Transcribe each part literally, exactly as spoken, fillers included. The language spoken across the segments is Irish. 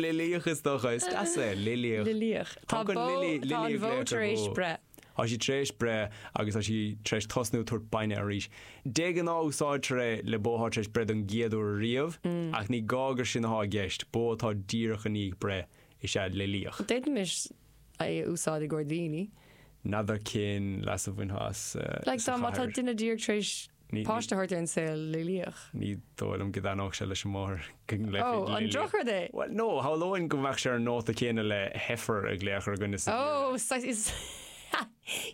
Lilíoch is dócha is deas é lilíoch. Lilíoch. Tá Tá bó lili- tá an lili ag bhó glaoch ar tar éis bhó. breith. Tá sí tar éis breith agus tá sí tar éis tosnú tabhairt bainne arís. De ghnáth úsáidtear é le bó atá tar éis breith don gcéad uair riamh, Mm. ach ní gá gur sin atá i gceist, bó atá díreach i ndiaidh breith is ea lilíoch. D'fhéadfaimis é a úsáid i gcomhair daoine. N'fheadar cén leas a bhainfeá as Like sa dá má tá chathair. duine díreach tar éis Ní- páiste a thabhairt ar an saol lilíoch. Ní dóigh liom go dtaitneodh sé leis an máthair go Ó, an drochrud é? Well, no, shamhlóinn go mbeadh sé ar an nóta céanna le heifer ag glaoch ar dhuine sa Ó, is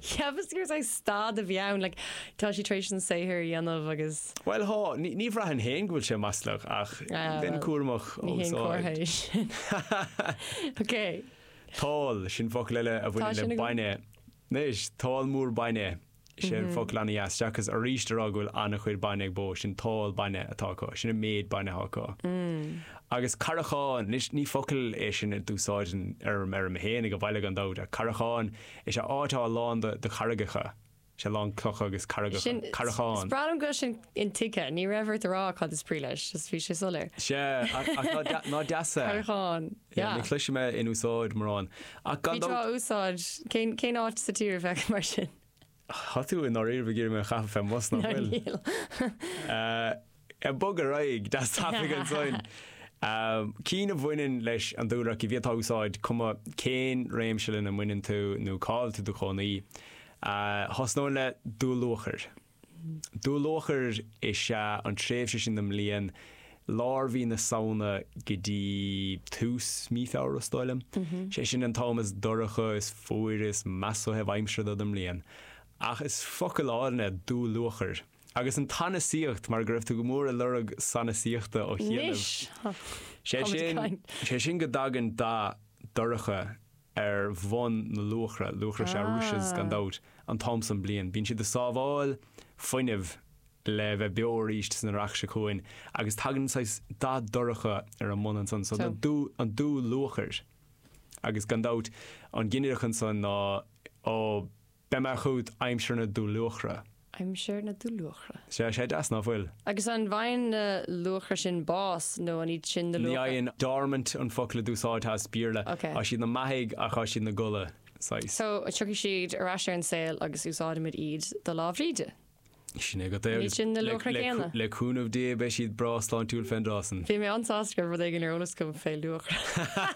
Cheapas gur saghas staid a bhí ann, like, tá sí tar éis an saothar a dhéanamh agus Well há, ní ní bhraithim féin go bhfuil sé maslach ach Ah, bheinn well, cúramach ní haon úsáid. comhartha é sin. Ok. Tál, sin focal eile a Tá bhaineann sin le agam. bainne. Anois, tál mór bainne. Sin Mhm. focal an-dheas, seachas arís a rá go bhfuil an-chuid bainne ag bó, sin tál bainne atá acu, sin an méid bainne atá acu. Mm. Agus carrachán, anois ní focal é sin a d'úsáideann ar ar mé féin ag an bhaile gan dabht, ach carrachán is ea áit atá lán de de charraigeacha. Sé lán clocha agus carraigeacha. Sin Carrachán. Is breá liom go bhfuil sin intuigthe, ní raibh ort a rá cad is brí leis, just bhí sé soiléir. Sé, ach ach ná de- ná deas é. Carrachán. Yeah, Yeah. ní chloisim é in úsáid mórán. Ach gan Bhí tú dabht á úsáid cén cén áit sa tír a bheith mar sin. Tá tú i ndáiríre ag iarraidh mé a chaitheamh fén mbus nach No, bhfuil. níl. Uh, bog ar aghaidh, deas tapaidh ansin. Um, Cinn a bhaineann leis an dúlra cibé atá úsáid cuma cén réimse lena mbaineann tú nó cá bhfuil tú i do chónaí. Uh, Thosnóinn le dúluachair. Dúluachair is ea an tréimhse sin den mbliain lár mhí na Samhna go dtí tús mí Feabhra is dóigh liom. Sé sin an t-am is dorcha is fuaire is measa ó thaobh aimsire de den mbliain. Ach is focal álainn é dúluachair. Agus an tsanasaíocht mar go raibh tú go mór ag lorg sanasaíochta ó chianaibh. Anois. Sé Táimid sin caint. sé sin go dtagann dath dorcha ar bhun na luachra, luachra sé Ah. rushes gan dabht an t-am san bliain. Bíonn siad ag sábháil fuinnimh le bheith beo arís san earrach seo chugainn, agus tagann saghas dath dorcha ar an mbun ansan, so So. na dú an dúluachair. Agus gan dabht an ginideach ansan ná ó beidh mé chugat aimsir na dúluachra. Aimsir na dúluachra. Sé sé deas nach bhfuil. Agus an bhfaigheann na luachra sin bás nó an iad sin na Ní luachra? fhaigheann dormant an focal a d'úsáidfeá as Béarla. Okay. Tá siad na maithigh ach tá siad na gcodladh saghas. So tiocfaidh siad ar ais ar an saol agus úsáidimid iad do Lá Bhríde. Sin é go dté Ní agus sin na le- luachra le- céanna. Le cúnamh Dé beidh siad breá sláintiúil fén dtráth san. Bhí mé an-sásta go raibh rud éigin ar eolas agam fé luachra.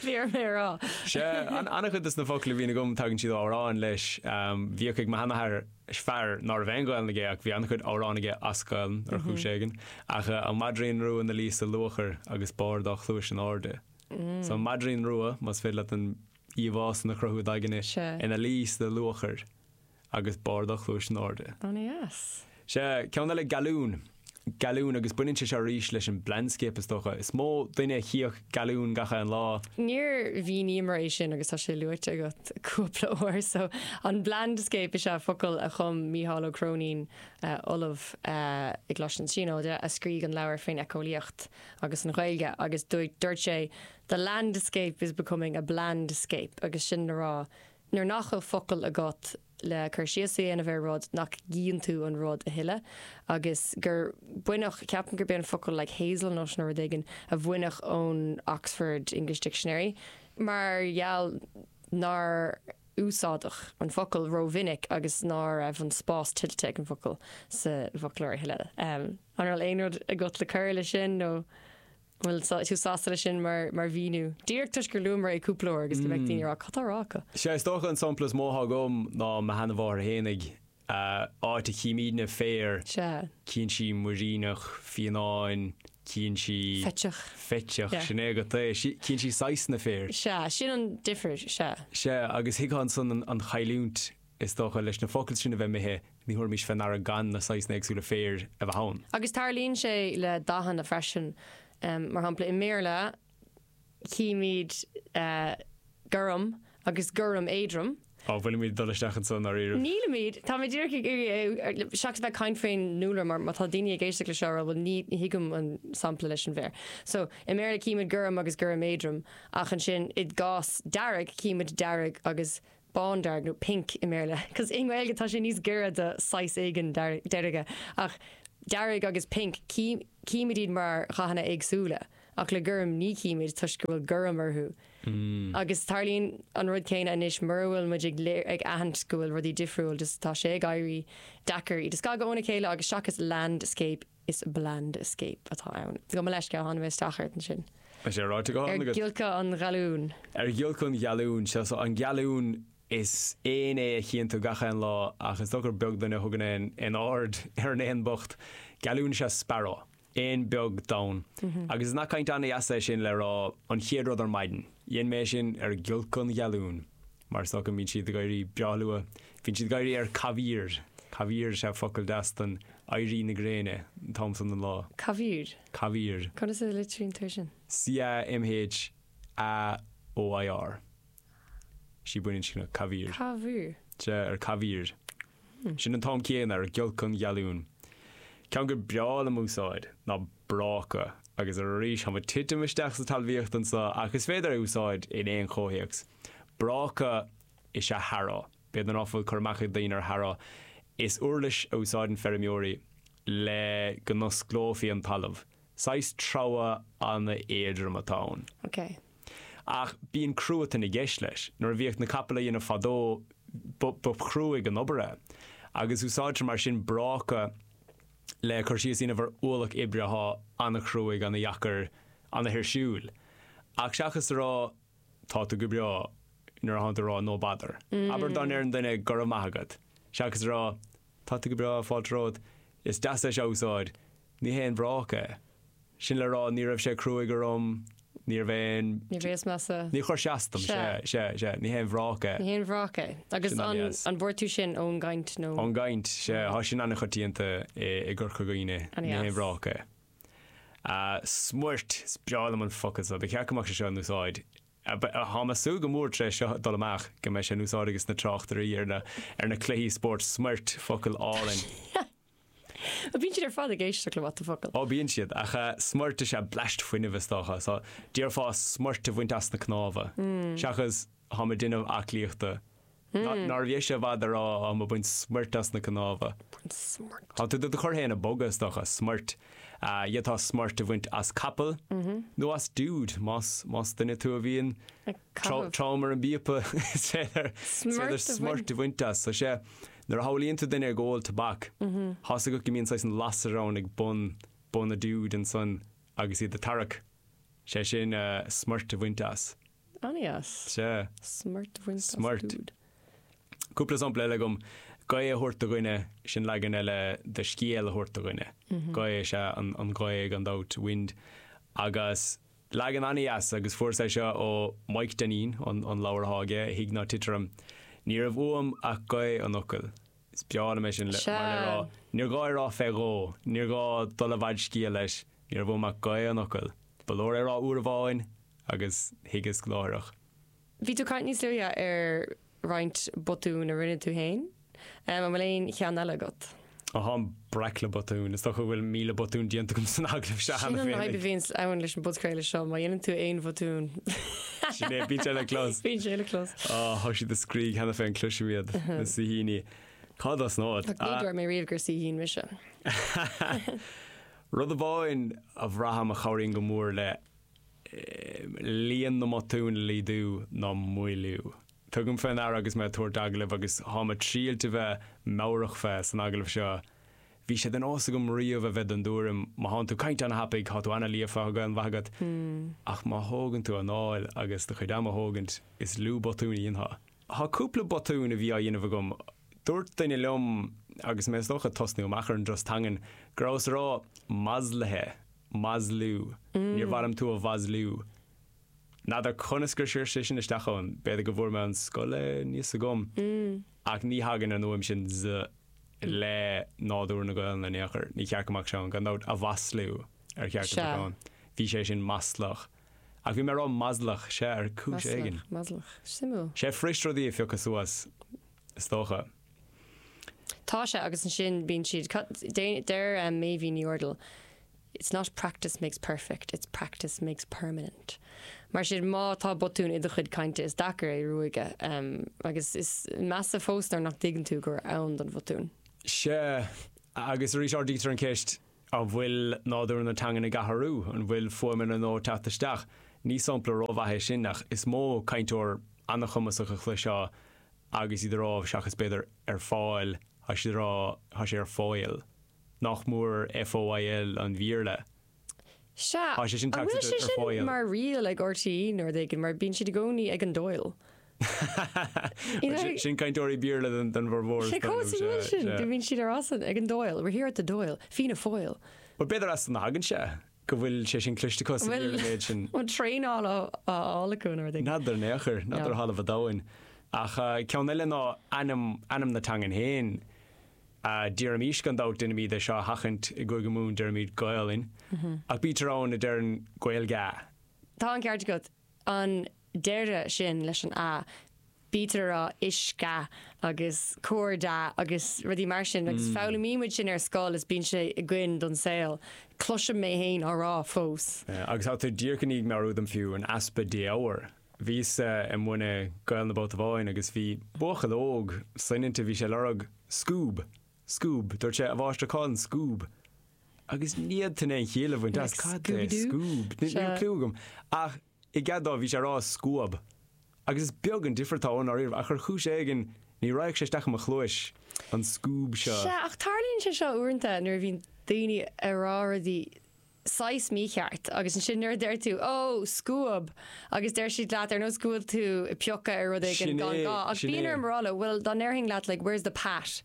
Bhí ar mé rá. Se an-chuid des na focla a bhíonn agam tagann siad amhrán leis um, bhíodh ag mo sheanathair fear ná raibh aon Ghaelainn aige ach bhí an-chuid amhrán aige as Gaelainn ar chúis éigin ach uh, an madrín rua ina luí sa luachair agus barr dá chluais in airde. So an madrín rua más féidir leat an íomhá san a chruthú d'aigne Se. ina luí sa luachair agus barr dá chluais in airde. An-dheas. Se ceann eile galún. Galún agus baineann sé seo arís leis an blandscape is dócha. Is mó duine a chíodh galún gach aon lá. Níor mhíníomar é sin agus tá sé luaite agat cúpla uair, so an blandscape is ea focal a chum Mícheál Ó Cróinín uh, ollamh uh, i gColáiste na Tríonóide a scrígh an leabhar faoin éiceolaíocht agus an Ghaeilge agus dúirt dúirt sé the landscape is becoming a blandscape agus sin le rá nuair nach bhfuil focal agat le cur síos a dhéanamh ar rud nach gcíonn tú an rud a thuilleadh agus gur baineadh ceapaim gur b'é an focal like hazelnut nó rud éigin a baineadh ón Oxford English Dictionary mar gheall nár úsáideadh an focal rómhinic agus ná raibh an spás tuillte ag an focal sa bhfoclóir a thuilleadh. Um, an raibh aon rud agat le cur le sin nó bhfuil tú sásta le sin mar mar mhíniú. Díreach toisc gur luamar é cúpla uair agus go mbeidh daoine ag rá cad tá á rá acu. Sé is dócha an sampla is mó agam ná mo sheanmháthair fhéinig áit a chímidne féar Se cíonn sí muiríneach fiáin cíonn sí feiteach. feiteach Yeah. sin é go é cíonn sí saghsanna féir. Se sin an difear se. Se agus thuigfeá ansan an, an chailliúint is dócha leis na focail sin a bheith imithe ní thabharfaimis faoi ndeara gan na saghsanna éagsúla féir a bheith ann. Agus tarlaíonn sé le dathanna freisin um, mar shampla i mBéarla címid uh, gorm agus gorm éadrom. Á bhfuilimid dul isteach ansan ar iarraidh. Nílimid tá mé díreach ag iarraidh seachas bheith caint faoin ndúlra mar má tá daoine ag éisteacht le seo bhfuil ní thuigim an sampla leis an bhféar. So i mBéarla címid gorm agus gorm éadrom ach ansin i gcás dearg címid dearg agus bándearg nó pink i mBéarla. Cos i nGaeilge tá sé níos giorra do saghas éigin deirge ach dearg agus pink címid iad mar dhathanna éagsúla. Ach le gorm ní chímid toisc go bhfuil gorm orthu. Mm. Agus tarlaíonn an rud céanna anois mura bhfuil muid ag léir ag aithint go bhfuil rudaí difriúil just tá sé ag éirí deacair iad a scagadh óna chéile agus seachas landscape is blandscape atá ann. Gabh mo leithscéal tháinig mé isteach ort ansin. Tá sé ráite go Ar agat. giolcadh an ghalúin. Ar ghiolcadh an ghalúin, sea so an galún is éan é a chíonn tú gach aon lá ach is dócha gur beag duine a thugann aon aon aird ar an éan bocht. Galún is ea sparrow, éan beag donn. Agus is nath cainte an-deas é sin le rá an chéad rud ar maidin. Dhein mé sin ar ghiolcadh an ghalúin. Mar is dócha go mbíonn siad ag éirí breá luath. Bíonn siad ag éirí ar camhaoir. Camhaoir is ea focal deas don éirí na gréine an t-am san den lá. Camhaoir. Camhaoir. Conas a litríonn tú sin? C A M H A O I R. Sí baininscneach camhaoir. Camhaoir. Sea ar camhaoir. Sin an t-am céanna ar ghiolcadh an ghalúin. Ceann gur breá liom úsáid ná bráca agus arís táim ag titim isteach sa talmhaíocht anseo ach is féidir é úsáid in aon chomhthéacs. Bráca is ea harrow. B'fhéidir nach bhfuil cur amach ag daoine ar harrow. Is uirlis a úsáideann feirmeoirí le go n-osclófaí an talamh. Saghas treabhadh an-éadrom atá ann. Ok. Ach bíonn cruatan i gceist leis. Nuair a bhíodh na capaill á dhéanamh fadó ba chruaidh an obair é. Agus úsáidtear mar sin bráca le cur síos a dhéanamh ar ualach oibre atá an-chruaidh, an-dheacair, an-thuirsiúil. Ach seachas a rá tá tú go breá nuair atá tú ag rá no bother. Abair dá ndeireann duine go raibh maith agat. Seachas a rá tá tú go breá fáilte romhat, is deas é seo a úsáid, ní haon bhráca é. Sin le rá ní raibh sé cruaidh orm, ní raibh aon Ní bhéas measa. Ní chuir sé as dom, Sea. sea, sea, sea, ní haon bhráca é. Ní haon bhráca é. Agus Sin an an-deas. an bhfuair tú sin ón gcaint nó? Ón gcaint, sea, tá sin an-choitianta i i gCorca Dhuibhne, ní haon An-deas. bhráca é. Uh, smuirt, is breá liom an focal seo, ba cheart go mbeadh sé seo in úsáid. Tá mé ag súil go mór tar éis seo dul amach go mbeidh sé in úsáid agus na tráchtairí ar na ar na cluichí spóirt smuirt focal álainn. Bíonn siad ar fad ag éisteacht le what the focal. Ó bíonn siad ach uh, smuirt is ea bleaist fuinnimh is dócha, so déarfá smuirt a bhaint as na cnámha. Seachas táim ag déanamh aclaíochta. Nár bhí sé bhd a rá táim ag baint smuirt as na cnámha. Smuirt. Tá tú do chur féin ag bogadh is dócha smuirt. Uh, D'fhéadfá smuirt a bhaint as capall nó as dúd más más duine tú a bhíonn Ag caitheamh. trom ar an bpíopa is féidir Smuirt a smuirt a bhaint as, so sé nuair a shamhlaíonn tú duine ag ól tobac tá a fhios agat go mbíonn saghas an lasair ann ag bun bun a dúd ansan agus iad ag tarrac. Sé sin uh, smuirt a bhaint as. An-deas. Sé. Smuirt a bhaint as Smuirt. dúd. Cúpla sampla eile agam gaoth a thabhairt do dhuine sin leagan eile de scéal a thabhairt do dhuine. Gaoth is ea an, an ghaoth gan dabht wind. Agus leagan an-deas agus fuair sé seo ó Mike Deneen an, an leabhar atá aige, Thig Ná Tit Orm. Ní raibh uaim ach gaoth an fhocail. Is breá liom é sin le Sea. mar le rá. Níor ghá rá fé dhó, níor ghá dul i bhfad scéal leis, ní raibh uaim ach gaoth an fhocail. Ba leor é rá uair amháin agus thuigeas láithreach. Bhí tú ag caint níos luaithe ar roinnt botún a rinne tú féin. Um, an bhfuil aon cheann eile agat. Ó táim breac le botún, is dócha go bhfuil míle botún déanta agam san agallamh seo Sin cheana an féin. fhadhb a bhíonn ann leis an bpodchraoladh seo, má dhéanann tú aon bhotún. Sin é, bíonn sé le clos. Bíonn sé le clos. Á, tá siad ag scrígh cheana féin cloisim iad na saoithíní. Cad as nád? Ach ní dúirt mé riamh gur saoithín mise. Rud amháin a bhraithim a chabhraíonn go mór le eh, líon na mbotún a laghdú ná moilliú. Tugaim faoi ndeara agus mé ag tabhairt agallaimh agus táim ag triail a bheith meabhrach fé san agallamh seo. Bhí sé de nós agam riamh a bheith den dtuairim má thánn tú ag caint an-thapaidh, tá tú an-líofa an mhaith agat. Ach má thógann tú anáil agus do chuid ama a thógaint is lú botún a dhéanfá. Tá cúpla botún a bhí á dhéanamh agam. Dúirt duine liom agus mé is dócha ag tosnú amach ar an dturas teangan go rabhas ag rá maslaithe, maslú, níor mhaith liom tú a mhaslú. N'fheadar conas gur chuir sé sin isteach ann, b'fhéidir go bhfuair mé an scoil níos agam. Ach ní thagann an fhuaim sin z le nádúr na Gaelainne in aon chor, ní cheart go mbeadh sé ann, gan dabht a mhaslú ar cheart go Sea. mbeadh ann. Bhí sé sin maslach. Ach bhí mé ag rá maslach sé ar chúis éigin. Maslach, maslach. Suimiúil. Sé fuirist rudaí a phiocadh suas is dócha. Tá sé agus ansin bíonn siad deir um, Méibhín Ní Dhúrdail, It's not practice makes perfect, it's practice makes permanent. Mar sin má tá botún i do chuid cainte is deacair é ruaigeadh um, agus is measa fós nuair nach dtuigeann tú gur ann don bhotún. Sé agus arís ardaítear an ceist An bhfuil nádúr na teangan ag athrú, an bhfuil fuaimeanna nua ag teacht isteach? Ní sampla rómhaith é sin ach is mó cainteoir an-chumasach a chloisfeá agus iad ag rá seachas b'fhéidir ar fáil, tá siad ag rá tá sé ar fóill. Nach mór FOIL an Bhéarla. Sea, Tá sé sin an bhfuil tagtha sé ar sin fóill. mar riail ag RTÉ nó rud éigin mar bíonn siad i gcónaí ag an Dáil. You know, Sin cainteoirí Béarla den den bhformhór. Sé chomh suimiúil sin, go mbíonn siad ar asan ag an Dáil, we're here at the Dáil, Fianna Fáil. Well b'fhéidir as san a thagann sé go bhfuil sé sin cliste acu sa Bhfuil- Bhéarla méid sin. An traenáil á á fháil acu nó rud éigin. N'fheadar in aon chor, n'fheadar No. thalamh an domhain. Ach uh, ceann eile ná ainm, ainm na teangan féin. Uh, Deirimís gan dabht déanaimid é seo a sheachaint i gCúige Mumhan deirimid Gaelainn. Ach bítear ann a deireann Gaeilge. Tá an ceart agat an deireadh sin leis an a bítear ag rá uisce agus códa agus rudaí mar sin agus foghlaimímid sin ar scoil is bíonn sé againn don saol. Cloisim mé féin á rá fós. Uh, agus tá tú díreach i ndiaidh meabhrú dom fiú an easpa défhoghair. Bhíos uh, i múineadh Gael na Babhta Amháin agus bhí buachaill óg soineanta bhí sé ag lorg scuab, scuab, dúirt sé a mháistir cá bhfuil an scuab. Agus ní fhéadfainn aon chiall a bhaint as Like cad é Scooby-Doo? scuab. Ní Sea. cliú agam. Ach i gcead dó bhí sé ag rá scuab. Agus is beag an difear atá ann ariamh ach ar chúis éigin ní raghadh sé isteach i mo chluais an scuab seo. Sea, ach tarlaíonn sé seo uaireanta nuair a bhíonn daoine ag rá rudaí saghas mícheart agus ansin nuair a deir tú ó scuab agus deir siad leat ar nós go bhfuil tú ag piocadh ar rud éigin Sin gan é, gá ach sin bíonn é. orm a rá leo, well dá ndéarfainn leat like where's the pat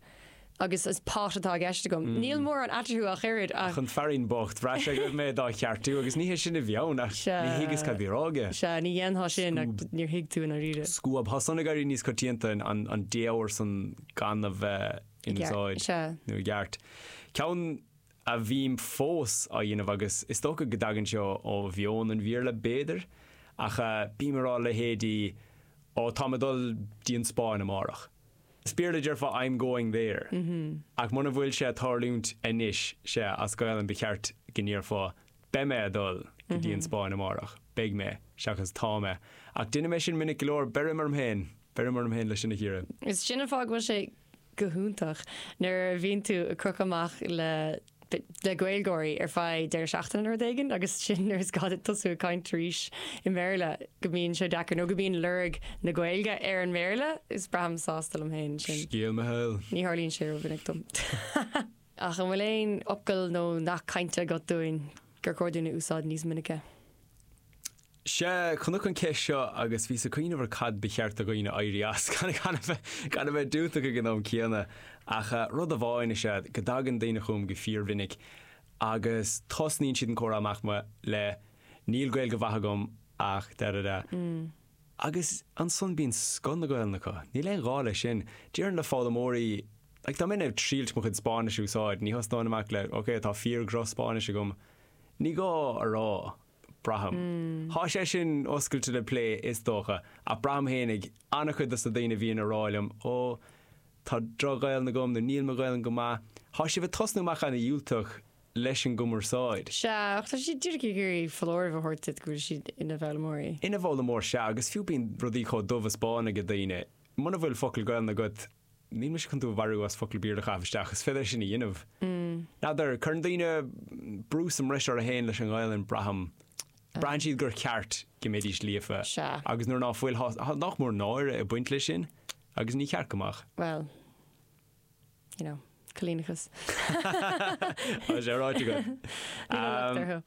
agus is pot atá i gceist agam. Níl mórán eatarthu ach oiread ach Chun fearín bocht bhraith sé go raibh mé dá cheartú agus ní hé sin a bhí ann ach Sea. ní thuigeas cad bhí á rá aige. Sea ní dhéanfá sin ach níor thuig tú an ríre. Scuab Tá san ag éirí níos coitianta an, an défhoghar san gan a bheith in úsáid Sea. nó i gceart. Ceann a bhím fós á dhéanamh agus is dócha go dtagann seo ó mheon an Bhéarla b'fhéidir ach uh, bím ag rá leithéidí ó tá mé ag dul dtí an Spáinn amárach. Is Béarla déarfá I'm going there. Mm -hmm. Ach muna bhfuil sé ag tarlúint anois sé as Gaelainn ba cheart go ndéarfá beidh mé ag dul go dtí an Spáinn amárach, beidh mé seachas tá mé. Ach déanaim é sin minic go leor beirim orm féin, beirim orm féin leis sin a chíoradh. Is sin an fáth go bhfuil sé go hiontach nuair a bhíonn tú ag crochadh amach le le Gaeilgeoirí ar feadh deireadh seachtaine nó rud éigin agus sin nuair is gá duit tosú ag caint arís i mBéarla go mbíonn sé deacair nó go mbíonn lorg na Gaeilge ar an mBéarla is braithim sásta liom féin sin. Scéal mo shaoil. Ní tharlaíonn sé rómhinic dom. Ach an bhfuil aon fhocal nó nath cainte agat dúinn gur chóir dúinn a úsáid níos minice. Sé chonac an ceist seo agus bhíos ag cuimhneamh ar cad ba cheart do dhaoine éirí as gan gan a bheith gan a bheith diúltach ag an am céanna ach uh, rud amháin is ea go dtagann daoine chugam go fíormhinic agus tosnaíonn siad an comhrá amach ma le níl Gaeilge mhaith agam ach da da da. Mm. Agus ansan bíonn scoth na Gaeilge acu. Níl aon ghá leis sin. Déarfainn le foghlaimeoirí like, dá mbeinn ag triail mo chuid Spáinnis a úsáid, ní thosnóinn amach le, ok, tá fíor-dhroch-Spáinnis agam. Ní gá a rá braithim. Mm. Tá sé sin oscailte le plé is dócha, ach braithim féinig an-chuid de na daoine a bhíonn ag rá liom ó tá droch-Ghaeilge agam nó níl mo Ghaeilge go maith. Tá sibh ag tosnú amach an-diúltach leis an gcumarsáid. Sea, ach tá siad díreach ag iarraidh foláireamh a thabhairt duit go bhfuil siad ina bhfoghlaimeoirí. Ina bhfoghlaimeoir sea agus fiú bíonn rudaí chomh dubh is bán ag daoine. Muna bhfuil focal Gaeilge agat, níl mise chun tú a mharú as focal Béarla a chaitheamh isteach, is féidir sin a dhéanamh. Mm. N'fheadar, cuireann daoine brú sa mbreis orthu féin leis an Ghaeilge braithim. Braitheann siad gur ceart go mbeidís líofa. Sea. Agus nuair ná fuil thá- nach mór náire ag baint leis sin, agus ní ceart go mbeadh. Well, you know, coilíneachas. Tá sé ráite agat. Níl locht orthu.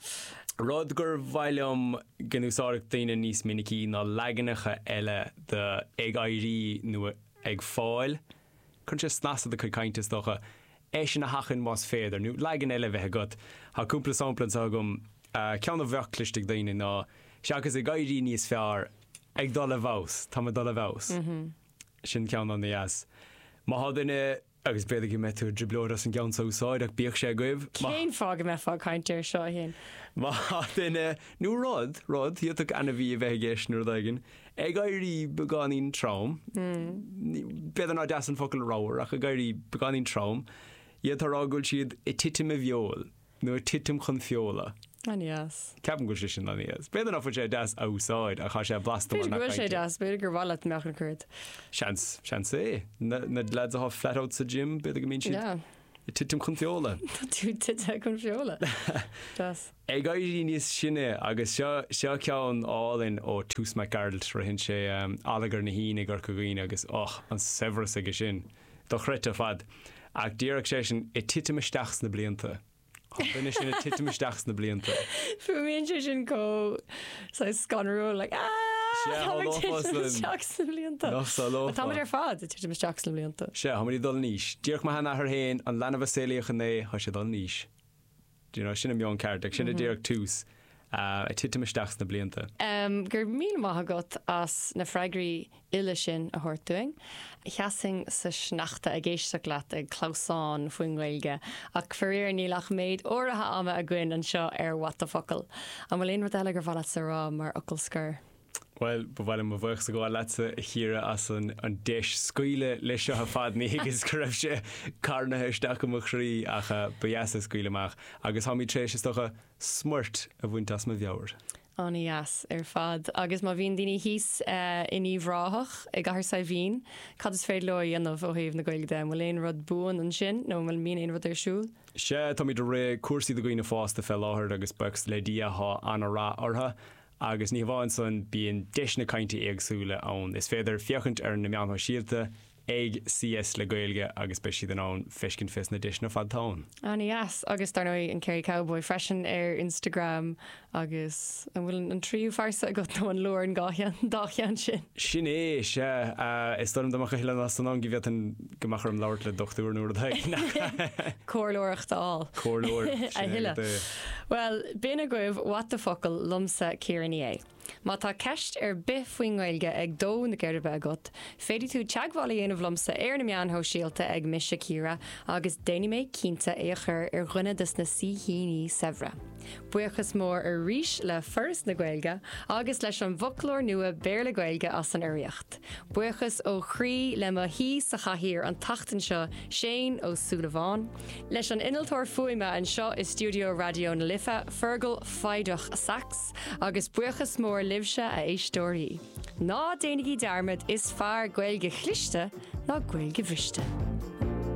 Rud gur mhaith liom go n-úsáidfeadh daoine níos minicí ná leaganacha eile de ag éirí nó ag fáil. Cuireann sé snas le do chuid cainte is dócha é sin a sheachaint más féidir nó leagan eile bheith agat. Tá cúpla sampla anseo agam uh, ceann a bheadh cliste ag daoine ná seachas ag éirí níos fearr ag dul i bhfeabhas, Tá mé ag dul i bhfeabhas. Sin ceann an-deas. Má tá duine agus b'fhéidir go mbeidh tú i dtrioblóid as an gceann seo a úsáid ach bíodh sé agaibh. Má- Cén fáth go mbeifeá ag caint air seo féin? Má duine nó rud rud d'fhéadfadh ainmhí a bheith i gceist nó rud éigin ag éirí beagáinín trom B'fhéidir nach deas an focal ramhar ach ag éirí beagáinín trom iad ag rá go bhfuil siad ag titim i bhfeoil nó ag titim chun feola. An-deas. Ceapaim go bhfuil sé sin an-deas. B'fhéidir nach bhfuil sé deas a úsáid ach tá sé blasta B'fhéidir go bhfuil sé deas, b'fhéidir gur mhaith leat mbeadh an cuid. Seans seans é na, na lads atá flat out sa gym b'fhéidir go mbíonn siad Yeah. Ag titim chun feola. Tá tú tite chun feola. Deas. Ag éirí níos sine agus seo seo ceann álainn ó Toose Mac Gearailt ritheann sé um, Allagar na hAoine i gCorca Dhuibhne agus och an saibhreas aige sin dochreidte ar fad. Ach díreach sé sin ag titim isteach sna blianta. Tá duine sin ag titim isteach sna blianta. Fuaimíonn sé sin chomh scanrúil like ah Sea, Tá thá titim isteach sna blianta. Nach samhlófá. Táimid ar fad ag titim isteach sna blianta. Sea, táimid ag dul in aois. Díreach mo sheanathair féin an leanbh a saolaíodh inné tá sé ag dul in aois. Do you know, sin an meon ceart, ag sin a díreach tús uh, ag titim isteach sna blianta. Um, go raibh míle maith agat as na freagraí uile sin a thabhairt dúinn. Sheasfainn sa sneachta ag éisteacht leat ag clamhsán faoin nGaeilge, ach faraor níl ach méid áirithe ama againn anseo ar What the Focal. An bhfuil aon rud eile gur mhaith leat a rá mar fhocal scoir? Well, ba mhaith liom mo bhuíochas a ghabháil leatsa a Chiara as an, an deis scaoileadh leis seo ar fad ní agus go raibh sé carnaithe isteach i mo chroí ach uh, ba dheas é scaoileadh amach agus táimid tar éis is dócha smúit a bhaint as mo mheabhair. An-deas ar fad agus má bhíonn daoine thíos uh, in Uíbh Ráthach i gCathair Saidhbhín, cad is féidir leo a dhéanamh ó thaobh na Gaeilge de, bhfuil aon rud buan ansin nó bhfuil mín aon rud ar siúl? Sea táimid ag rith cúrsaí do dhaoine fásta fé láthair agus buíochas le Dia tá an-rath orthu. Agus ní hamháin san bíonn deiseanna cainte éagsúla ann. Is féidir féachaint ar na meáin shóisialta ag CS le Gaeilge agus beidh siad in ann feiscint fés na deiseanna fad ann. An-deas agus dar ndóigh an Kerry Cowboy freisin ar Instagram agus an bhfuil an tríú phearsa agat nó an leor an dá cheann sin. Sin é sea is dom amach a thuile san an go bhféadfainn go mbeadh orm labhairt le dochtúir nó rud Comhairleoireacht á. Comhairleoir A thuilleadh. Well, b'in agaibh What the Focal liomsa Ciara Ní É. Má tá ceist ar bith faoin nGaeilge ag dó na geirbe agat, féadfaidh tú teagmháil a dhéanamh liomsa ar na meáin shóisialta ag mise Ciara agus déanfaidh mé cinnte é a chur ar dhuine des na saoithíní saibhre. Buíochas mór arís le Foras na Gaeilge agus leis an bhfoclóir nua Béarla Gaeilge as an urraíocht. Buíochas ó chroí le mo shaoi sa chathaoir an tseachtain seo Shane Ó Súilleabháin, leis an innealtóir fuaime anseo i stiúideo Raidió na Life Fergal Feidach Sax agus buíochas mór libhse a éisteoirí. Ná déanaigí dearmad is fearr Gaeilge chliste ná Gaeilge bhriste.